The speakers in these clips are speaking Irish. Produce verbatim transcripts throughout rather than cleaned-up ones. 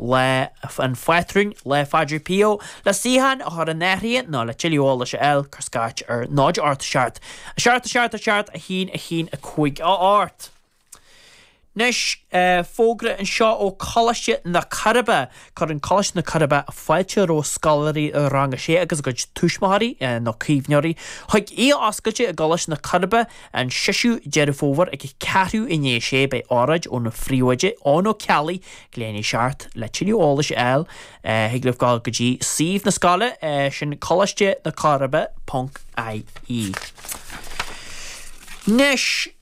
Lá an Phátrúin, Lá Phádraig Pio, le suíochán a chur in áirithe nó le tuilleadh eolais a fháil, cuir scairt ar náid ocht seacht, a seacht a seacht a seacht a haon a haon a cúig a ocht. Anois, fógra anseo ó Coláiste na Coiribe. Cuireann Coláiste na Coiribe fáilte roimh scoláirí rang a sé agus a gcuid tuismitheoirí nó caomhnóirí chuig oíche oscailte i gColáiste na Coiribe an seisiú Deireadh Fómhair ag ceathrú i ndiaidh a sé. Beidh óráid ón phríomhoide Eoin Ó Ceallaigh ag leath i ndiaidh a seacht le tuilleadh eolais a fháil. Thig libh dul go dtí suíomh na scoile, sin Coláiste na Coiribe ponc I E. Anois,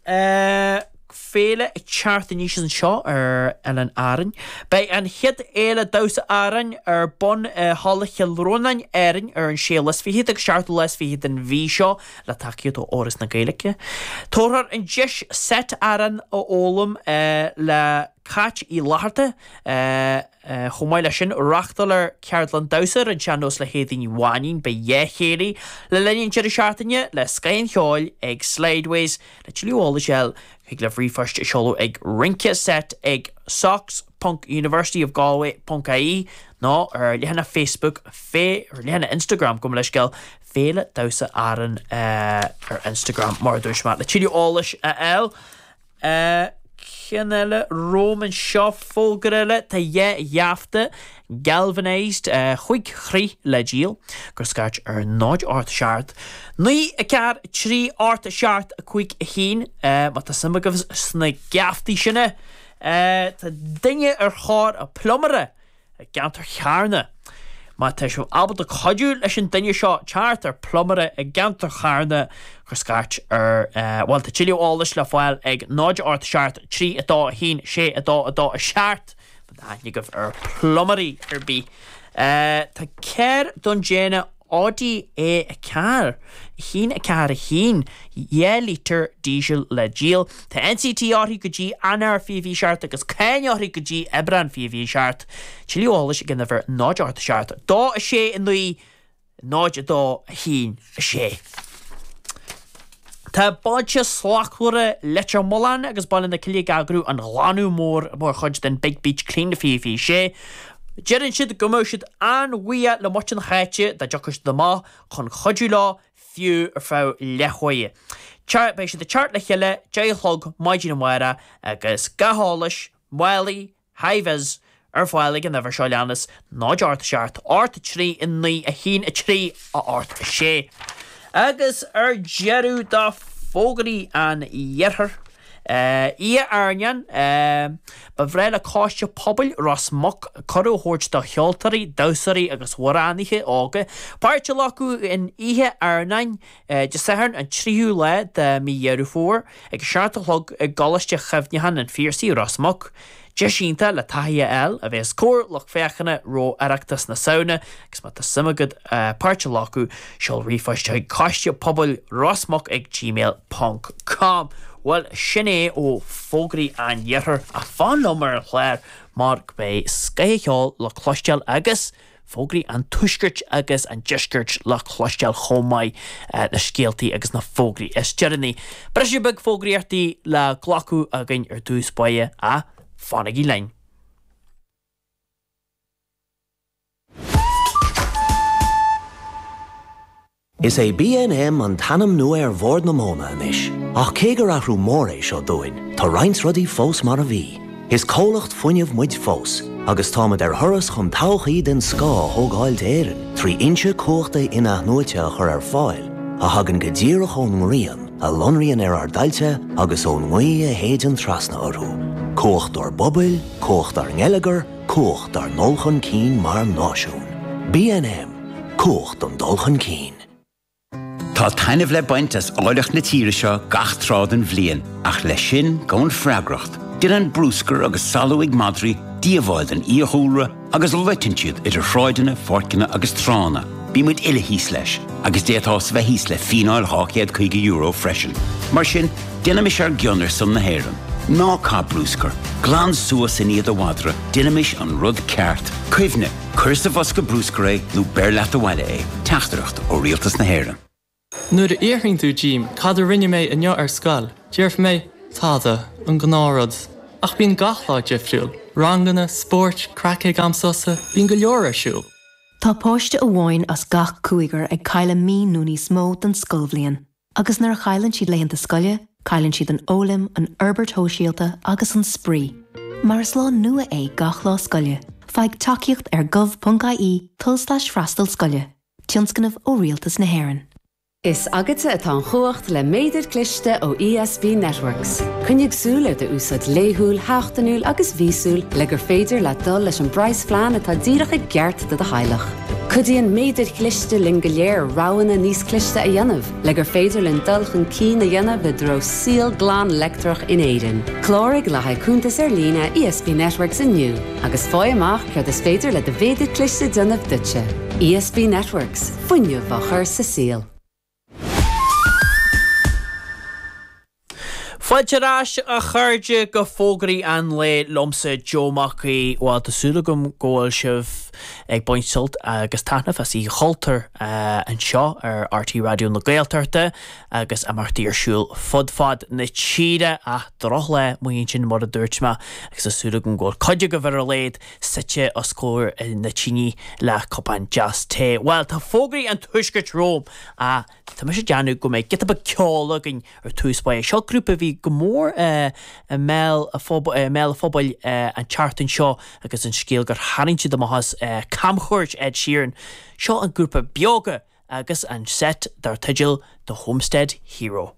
féile ag teacht aníos anseo ar Oileán Árainn. Beidh an chéad Fhéile Damhsa Árann ar bun i Halla Chill Rónáin, Árainn ar an séú lá is fichead agus seachtú lá is fichead den mhí seo le tacaíocht ó Fhoras na Gaeilge. Tabharfar an deis seit amhrán a fhoghlaim le Cáit Uí Fhlatharta. Chomh maith leis sin, reáchtálfar ceardlann damhsa ar an sean-nós le hÉadaoin Ní Mhainín. Beidh dhá chéilí le linn an deireadh seachtaine le scoth an cheoil ag Slideways. Le tuilleadh eolais a fháil, thig libh ríomhphost a sheoladh ag rinceset ag socs ponc universityofgalway ponc ie nó ar leathanach Facebook, ar leathanach Instagram, gabh mo leithscéal, Féile Damhsa Árann ar Instagram mar a dúirt mé. Le tuilleadh eolais a fháil. Ceann eile romham anseo, fógra eile, tá dhá gheafta galvanised chúig throigh le díol, cuir scairt ar náid ocht seacht naoi a ceathair trí ocht seacht a cúig a haon má tá suim agaibh sna geaftaí sin. Tá duine ar thóir pluiméara i gceantar Charna. Má tá sibh ábalta cuidiú leis an duine seo teacht ar pluiméara i gceantar Charna, cuir scairt ar, bhuel, tá tuilleadh eolais le fáil ag náid ocht seacht trí a dó a haon sé a dó a dó a seacht má tá aithne agaibh ar phluiméirí ar bith. Tá carr den déanamh Audi A ceathair, a haon a ceathair a haon, dhá lítear díosal le díol. Tá N C T uirthi go dtí Eanáir fiche fiche seacht agus cáin uirthi go dtí Aibreán fiche fiche seacht. Tuilleadh eolais ag an uimhir náid ocht seacht dó a sé a naoi náid a dó a haon a sé. Tá Bailte Slachtmhara Leitir Mealláin agus Baile na Cille ag eagrú an Ghlanadh Mór mar chuid den Big Beach Clean fiche fiche sé. Deireann siad go mbeadh siad an-bhuíoch le muintir na háite dá dtiocfadh siad amach chun cuidiú leo fiú ar feadh leathuaire. Beidh siad ag teacht le chéile deich a chlog maidin amárach agus gach eolas, málaí, hi-vis ar fáil ag an uimhir seo leanas, náid ocht seacht ocht trí a naoi a haon a trí a ocht a sé. Agus ar deireadh do fógraí an iarthair, Oíche Airneáin, ba bhreá le Coiste Pobail Ros Muc cuireadh a thabhairt do cheoltóirí, damhsóirí agus amhránaithe óga páirt a ghlacadh in Oíche Airneáin Dé Sathairn an tríú lá de mhí Dheireadh Fómhair ag a seacht a chlog i gColáiste Chuimhneacháin an Phiarsaigh, Ros Muc. Deis iontach le taithí a fháil a bheith os comhair lucht féachana roimh Oireachtas na Samhna agus má tá suim agat páirt a ghlacadh, seol ríomhphost chuig Coiste Pobail Ros Muc ag gmail ponc com. Bhuel, sin é ó fógraí an iarthair ach fan liom ar an chlár mar go mbeidh scoth an cheoil le cloisteáil agus fógraí an tuaiscirt agus an deiscirt le cloisteáil chomh maith, na scéaltaí agus na fógraí is deireanaí. Briseadh beag fógraíochtaí le glacadh againn ar dtús báire ach fanaigí linn. Is é B N M an t-ainm nua ar Bhord na Móna anois, ach cé gur athrú mór é seo dúinn, tá roinnt rudaí fós mar a bhí. Is comhlacht fuinnimh muid fós, agus táimid ar thuras chun todhchaí den scoth a thógáil d'Éirinn trí fhoinse cumhachta in-athnuaite a chur ar fáil, a thagann go díreach ón ngrian, a lonraíonn ar ár dtailte agus ón ngaoth a shéideann trasna orthu. Cumhacht ár bpobail, cumhacht ár ngeilleagar, cumhacht ár ndul chun cinn mar náisiún. B N M, cumhacht don dul chun cinn. Tá taitneamh le baint as áilleacht na tíre seo gach tráth den bhliain, ach leis sin gabhann freagracht. Déanann bruscar agus salú ag madraí díobháil don fhiadhúlra agus loiteann siad idir shráideanna, pháirceanna agus tránna. Bíonn muid uile thíos leis, agus d'fhéadfá bheith thíos le fíneáil dhá chéad caoga euro freisin. Mar sin, déanaimis ár gcion ar son na hÉireann. Ná caith bruscar, glan suas i ndiaidh do mhadra, déanaimis an rud ceart. Cuimhnigh, cuir sa bhosca bruscair é nó beir leat abhaile é, teachtaireacht ó Rialtas na hÉireann. Nuair a fhiafraíonn tú díom cad a rinne mé inniu ar scoil, déarfaidh mé tada an gnáthrud, ach bíonn gach lá difriúil. Ranganna, spóirt, craic ag am sosa, bíonn go leor ar siúl. Tá páiste amháin as gach cúigear ag cailleadh mí nó níos mó den scoilbhliain, agus nuair a chailleann siad laethanta scoile, cailleann siad an fhoghlaim, an fhorbairt shóisialta agus an spraoi. Mar is lá nua é gach lá scoile, faigh tacaíocht ar gov.ie tulslais freastal scoile, tionscnamh ó Rialtas na hÉireann. Is agatsa atá an chumhacht le méadar cliste ó ESB Networks. Coinnigh súil ar d'úsáid laethúil, sheachtainiúil agus mhíosúil le gur féidir leat dul leis an bpraghasphlean atá díreach i gceart do do theaghlach. Cuidíonn méadair chliste linn go léir roghanna níos cliste a dhéanamh, le gur féidir linn dul chun cinn a dhéanamh i dtreo saol glan leictreach in Éirinn. Cláraigh le haghaidh cuntas ar líne ESB Networks inniu, agus faigh amach céard is féidir le do mhéadar cliste déanamh duitse. ESB Networks, fuinneamh á chur sa saol. Fáilte ar ais a chairde go fógraí an lae liomsa Joe Mac Aoidh bhuel tá súil agam go bhfuil sibh ag baint sult agus taitneamh as Oíche Chultúir anseo ar RTÉ Raidió na Gaeltachta agus imeachtaí ar siúl fud fad na tíre ach drochlá amuigh ansin mar a dúirt mé agus tá súil agam go bhfuil cuid agaibh ar a laghad suite os comhair na tine le cupán deas tae. Bhuel tá fógraí an tuaiscirt romham ach tá mise ag déanamh go mbeidh giota beag ceoil againn ar tús báire. Seo grúpa a bhí go mór i mbéal an phobail an tseachtain seo agus an scéal gur tharraing siad amach as camchuairt Ed Sheeran. Seo an grúpa Beoga agus an seit dar teideal The Homestead Hero.